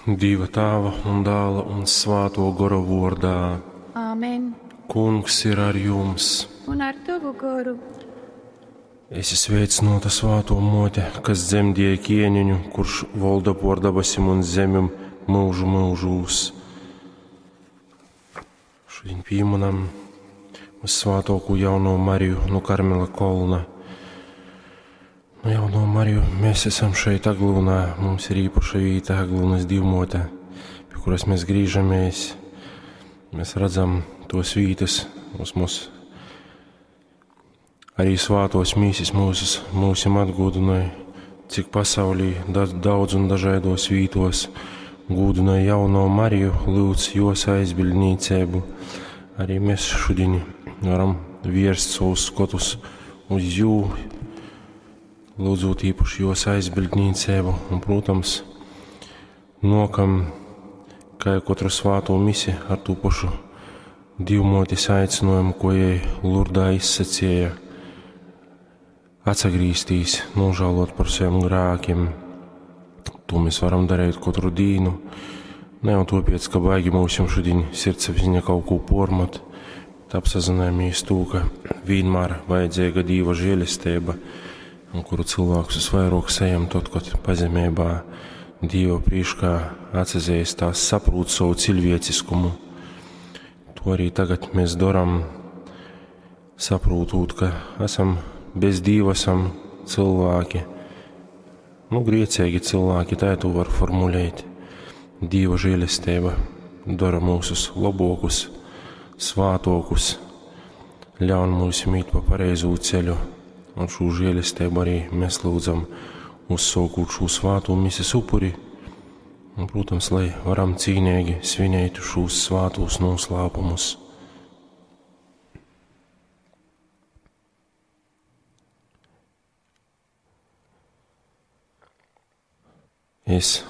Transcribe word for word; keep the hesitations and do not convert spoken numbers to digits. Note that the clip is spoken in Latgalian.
Dieva Tāva un Dāla un Svāto Gora vordā. Āmen. Kungs ir ar jums. Un ar tavu goru. Esi sveicināta svāto mote, kas dzemdēja ķēniņu, kurš valda pār dabasim un zemim mūžu mūžūs. Šodien pieminam svātoku jauno Mariju no Karmela kolna. Nu, jauno Mariju mēs esam šeit Aglūnā, mums ir īpaša vīta Aglūnas divmote, pie kuras mēs griežamies. Mēs redzam tos vītas, uz mūs arī svātos mīsis mūsus, mūsim atgūdināja, cik pasaulī da, daudz un dažādos vītos gūdināja jauno Mariju, lūdz jos aizbildnīcību. Arī mēs šodien varam vierst savus skotus uz jū, lūdzot īpaši jos aizbildnīcību un, protams, nokam, kā jau katru svāto misi ar tū pašu divmotis aicinājumu, ko jai Lurdā izsacīja atsagrīstīs, nožēlot par saviem grēkiem. To mēs varam darīt katru dienu. Ne jau tāpēc, ka baigi mums šodien sirdsapziņa kaut ko pormat, bet apsazināmies to, ka vienmēr vajadzīga Dieva žēlestība, un kuru cilvēks visvairāk saņem tad, kad pazemībā Dieva priekšā atsazīstās, saprot savu cilvēciskumu. To arī tagad mēs darām, saprotot, ka esam bez Dieva esam cilvēki, nu, griecīgi cilvēki, tā to var formulēt. Dieva žēlestība dara mūsus labākus, svātokus, ļaun mums īt pa pareizo ceļu, un šo žēlestību arī mēs lūdzam uzsākot šo svāto mises upuri, un, protams, lai varam cīnīgi svinēt šos svātos noslēpumus. Es